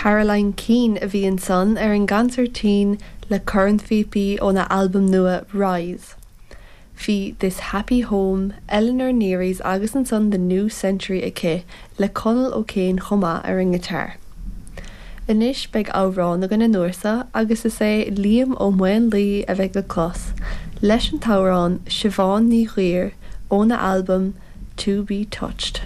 Caroline Keane a bhí ansan ar an gcansairtín le cornphíopaí óna albam nua Rise. Bhí This Happy Home, Eleanor Neary's agus ansan The New Century aici le Conall O'Kane chomh maith ar an ngiotár. Anois beidh amhrán againn an uair seo agus is é Liam Ó Maonlaí a bheidh le clos leis an t-amhrán Siobhán Ní Ghuidhir óna albam To Be Touched.